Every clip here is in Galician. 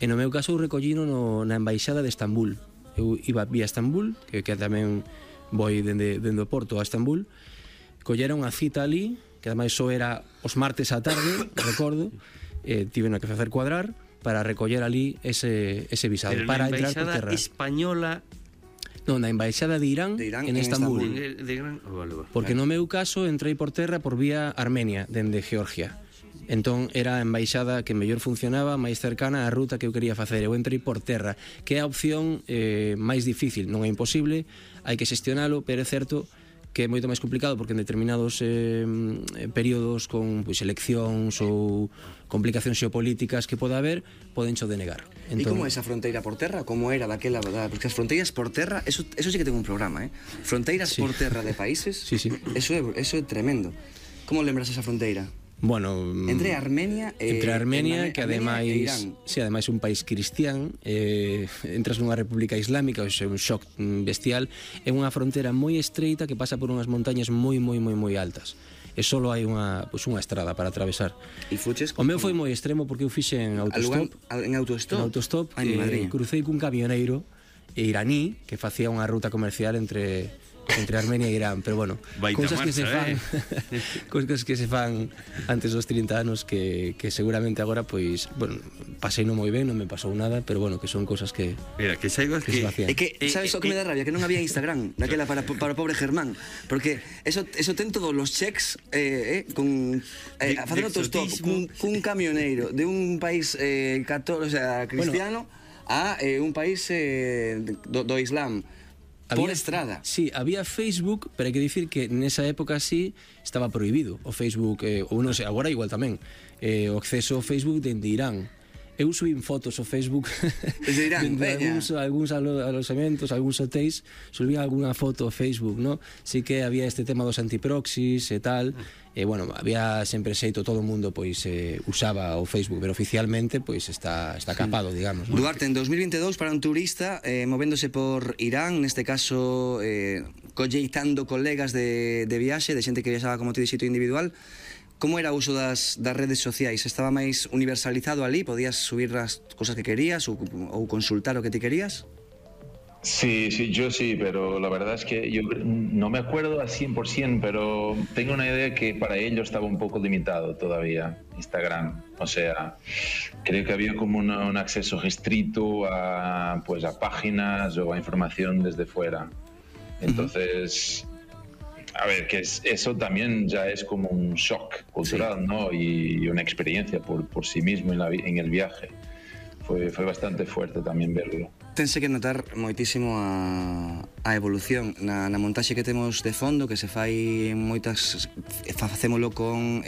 E no meu caso eu recollino na embaixada de Estambul. Eu iba vía Estambul, que tamén voi dende o Porto a Estambul. Collera unha cita ali, que ademais só era os martes á tarde, recordo, tiveno que facer cuadrar para recoller ali ese visado. Pero para na entrar por embaixada terra. española... Non, na embaixada de Irán en Estambul. Porque no meu caso entrei por terra por vía Armenia, dende Georgia. Entón era a embaixada que mellor funcionaba, máis cercana á ruta que eu quería facer. Eu entrei por terra, que é a opción máis difícil. Non é imposible, hai que xestionalo, pero é certo que é moito máis complicado porque en determinados períodos con eleccións ou complicacións xeopolíticas que poda haber, podencho denegar. E como é esa fronteira por terra? Como era daquela, porque as fronteiras por terra, eso sí que tengo un programa, Fronteiras por terra de países. Sí. Eso é tremendo. Como lembras esa fronteira? Bueno, entre Armenia e que ademais, ademais un país cristián, entras nunha república islámica, é un shock bestial, é unha fronteira moi estreita que pasa por unhas montañas moi altas. E só hai unha estrada para atravesar. E fuches? O meu foi moi extremo porque eu fixe en autostop. En autostop? Crucei cun camioneiro iraní que facía unha ruta comercial entre Armenia e Irán, pero bueno, cousas que se fan cousas que se fan antes dos 30 anos que seguramente agora, pois, bueno, pasei non moi ben, non me pasou nada, pero bueno, que son cousas que mira, que saibas que se facían. É que, sabes o que me dá rabia? Que non había Instagram daquela para o pobre Germán, porque eso ten todos los checks con facer autostop cun camioneiro de un país cristiano a un país do Islam. Por estrada. Sí, había Facebook, pero hai que dicir que nesa época sí estaba prohibido o Facebook, ou non sei, agora igual tamén, o acceso ao Facebook dende Irán. Eu subín fotos ao Facebook desde Irán, algúns alojamentos, algúns hotéis, subían algunha foto ao Facebook, ¿no? Sí que había este tema dos antiproxis e tal, e bueno, había sempre xeito, todo o mundo pois usaba o Facebook, pero oficialmente pois está capado, digamos, ¿no? Duarte, en 2022 para un turista movéndose por Irán, neste caso colleitando colegas de viaxe, de xente que viaxaba como ti dixito individual, como era o uso das redes sociais? Estaba máis universalizado ali? Podías subir as cosas que querías ou consultar o que ti querías? Sí, yo sí, pero la verdad es que yo no me acuerdo al 100%, pero tengo una idea que para ello estaba un poco limitado todavía Instagram. O sea, creo que había como un acceso restrito a páginas o a información desde fuera. Entonces... A ver, que eso también ya es como un shock cultural, sí, ¿no? Y una experiencia por sí mismo en el viaje. Fue bastante fuerte tamén verlo. Tense que notar moitísimo a evolución na montaxe que temos de fondo, que se fai moitas... Facémolo con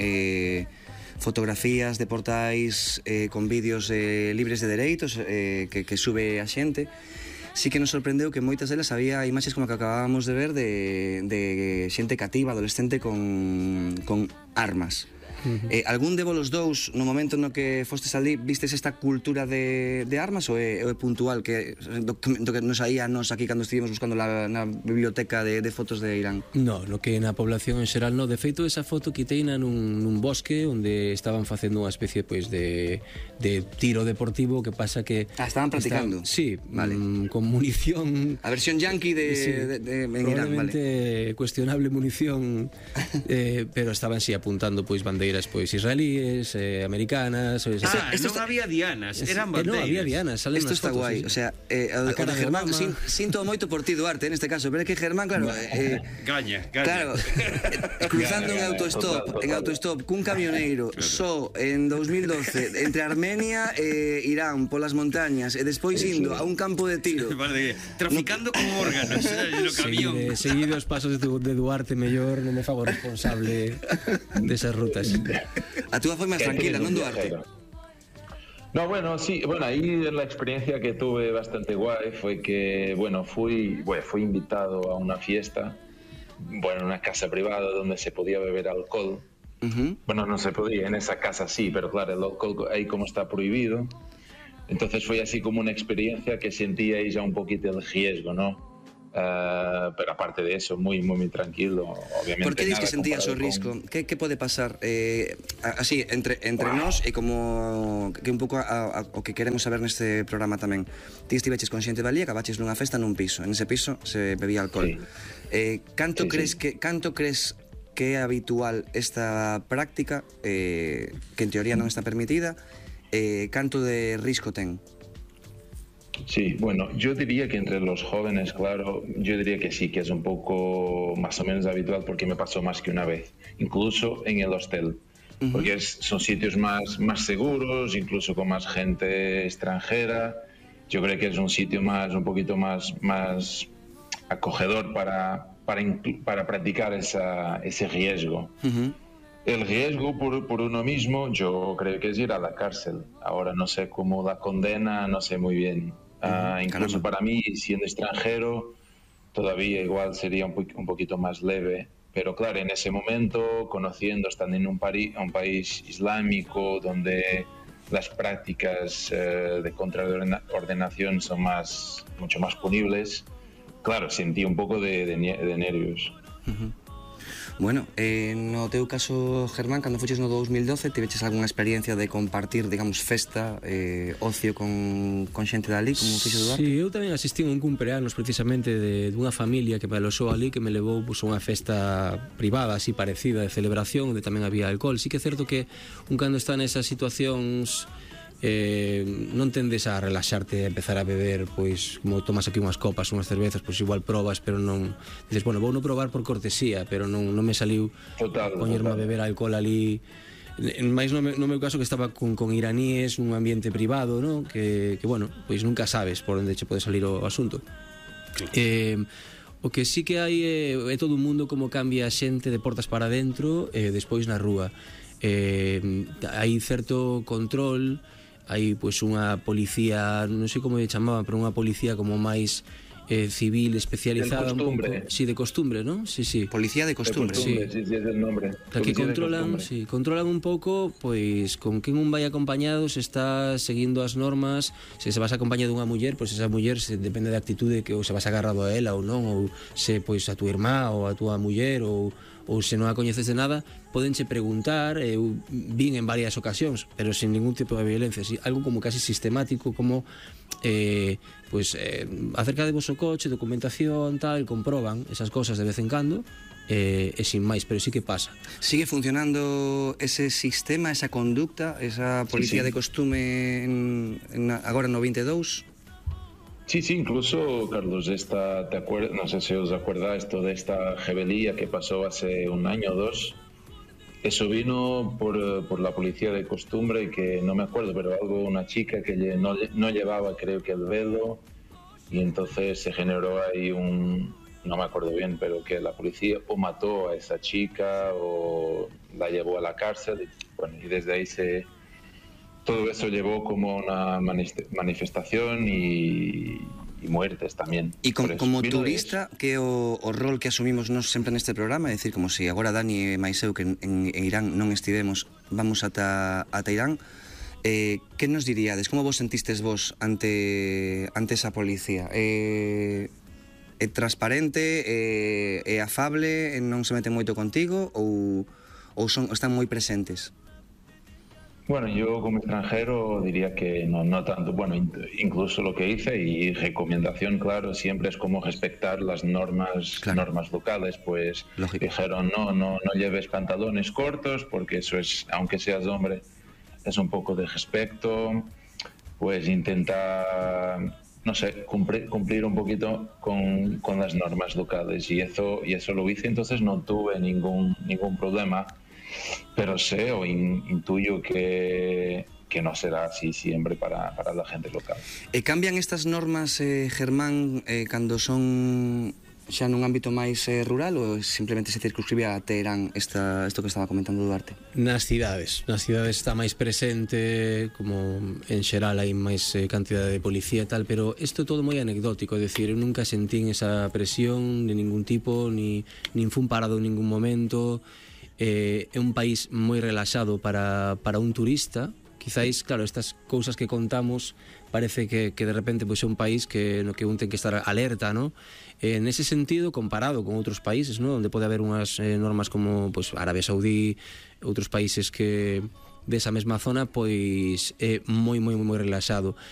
fotografías de portais, con vídeos libres de dereitos que sube a xente. Sí que nos sorprendeu que moitas delas había imaxes como que acabábamos de ver de xente cativa, adolescente con armas. Algún de vos dous, no momento no que fostes ali, vistes esta cultura de armas ou é puntual que do que nos saía nos aquí cando estivemos buscando na biblioteca de fotos de Irán? No que na población en xeral no. De feito, esa foto quiteina nun bosque onde estaban facendo unha especie pois de tiro deportivo, que pasa que... estaban practicando? Sí, vale. Con munición... A versión yankee en Irán, vale. Probablemente cuestionable munición, pero estaban apuntando pois bandeiras israelíes, americanas... non había dianas, eran bandeiras. Non había dianas, salen nas fotos. Isto está guai, o sea, o de Germán, sinto moito por ti, Duarte, neste caso, pero é que Germán, claro... Gaña. Claro, cruzando en autostop, cun camioneiro, só en 2012, entre Armenia e Irán, polas montañas, e despois indo a un campo de tiro. Traficando con órganos no camión. Seguir os pasos de Duarte, mellor non me fago responsable desas rutas. A túa foi máis tranquila, non, Duarte? No, bueno, sí, ahí la experiencia que tuve bastante guay fue que, fui invitado a una fiesta, en una casa privada donde se podía beber alcohol. Bueno, no se podía, en esa casa sí, pero claro, el alcohol ahí como está prohibido. Entonces fue así como una experiencia que sentía ahí ya un poquito el riesgo, ¿no? pero aparte de eso, muy, muy, muy tranquilo. Obviamente, por que dis que nada sentías o comparado risco? Que pode pasar así, entre nós e como que un pouco o que queremos saber neste programa tamén? Ti estiveches con xente valía, acabaches nunha festa nun piso. En ese piso se bebía alcohol. Canto crees que é habitual esta práctica, que en teoría non está permitida, canto de risco ten? Sí, bueno, yo diría que entre los jóvenes, claro, yo diría que sí, que es un poco más o menos habitual porque me pasó más que una vez, incluso en el hostel, porque son sitios más seguros, incluso con más gente extranjera. Yo creo que es un sitio un poquito más acogedor para practicar ese riesgo. El riesgo por uno mismo, yo creo que es ir a la cárcel. Ahora no sé cómo la condena, no sé muy bien. Incluso para mí, siendo extranjero, todavía igual sería un poquito más leve. Pero claro, en ese momento, conociendo, estando en un país islámico donde las prácticas de contraordenación son mucho más punibles, claro, sentí un poco de nervios. Bueno, no teu caso, Germán, cando fuches no 2012, tiveches algunha experiencia de compartir, digamos, festa, ocio con xente dali, como fixo Duarte? Sí, eu tamén asistí a un cumpleanos precisamente dunha familia que me alosou ali, que me levou a unha festa privada, así parecida, de celebración, onde tamén había alcohol. Sí que é certo que un cando está nesas situacións non tendes a relaxarte, a empezar a beber, pois como tomas aquí unhas copas, unhas cervezas, pois igual probas, pero non dices, bueno, vou non probar por cortesía, pero non me saliu poñerme a beber alcohol ali. Mais no meu caso que estaba con iraníes nun ambiente privado, ¿no? Que bueno, pois nunca sabes por onde che pode salir o asunto. O que sí que hai é todo un mundo como cambia a xente de portas para dentro despois na rúa. Hai certo control, hai pois unha policía, non sei como lle chamaban, pero unha policía como máis civil especializada, un pouco, sí, de costumbre, ¿no? Sí, sí. Policía de costumbre, sí, es el nombre. Que controlan un pouco, pois con quen un vai acompañado, se está seguindo as normas, se vas acompañado dunha muller, pois esa muller depende da actitude que ou se vas agarrado a ela ou non, ou se pois a tu irmá ou a túa muller ou se non a coñeces de nada, podenche preguntar. Eu vin en varias ocasións, pero sin ningún tipo de violencia, algo como casi sistemático, como acerca de vos o coche, documentación, tal, comproban esas cosas de vez en cando, e sin máis, pero sí que pasa. Sigue funcionando ese sistema, esa conducta, esa policía de costume agora no 22? Sí, incluso, Carlos, ¿te acuerdas? No sé si os acordáis de esta rebelía que pasó hace un año o dos. Eso vino por la policía de costumbre, que no me acuerdo, pero una chica que no llevaba, creo que el velo, y entonces se generó ahí no me acuerdo bien, pero que la policía o mató a esa chica o la llevó a la cárcel, y desde ahí todo eso llevó como una manifestación y muertes tamén. E como turista, que o rol que asumimos nós sempre neste programa, é dicir, como se agora Dani e máis eu, que en Irán non estivemos, vamos ata Irán, que nos diríades? Como vos sentistes vos ante esa policía? É transparente, é afable, non se mete moito contigo ou están moi presentes? Bueno, yo como extranjero diría que no tanto. Bueno, incluso lo que hice y recomendación, claro, siempre es como respetar las normas locales. Pues lógico. Dijeron, no lleves pantalones cortos porque eso es, aunque seas hombre, es un poco de respeto. Pues intenta, no sé, cumplir un poquito con las normas locales y eso lo hice, entonces no tuve ningún problema. Pero sé o intuyo que no será así siempre para la gente local. Cambian estas normas, Germán, cando son xa nun ámbito máis rural ou simplemente se circunscribe a Teherán isto que estaba comentando Duarte? Nas cidades está máis presente, como en xeral hai máis cantidade de policía e tal, pero isto é todo moi anecdótico, é dicir, eu nunca sentín esa presión de ningún tipo, nin fun parado en ningún momento. É un país moi relaxado para un turista, Quizáis, claro, estas cousas que contamos parece que de repente pois é un país no que un ten que estar alerta, ¿no? Nese sentido, comparado con outros países, ¿no? Onde pode haber unhas normas como pois Arabia Saudí, outros países que desa mesma zona, pois é moi relaxado.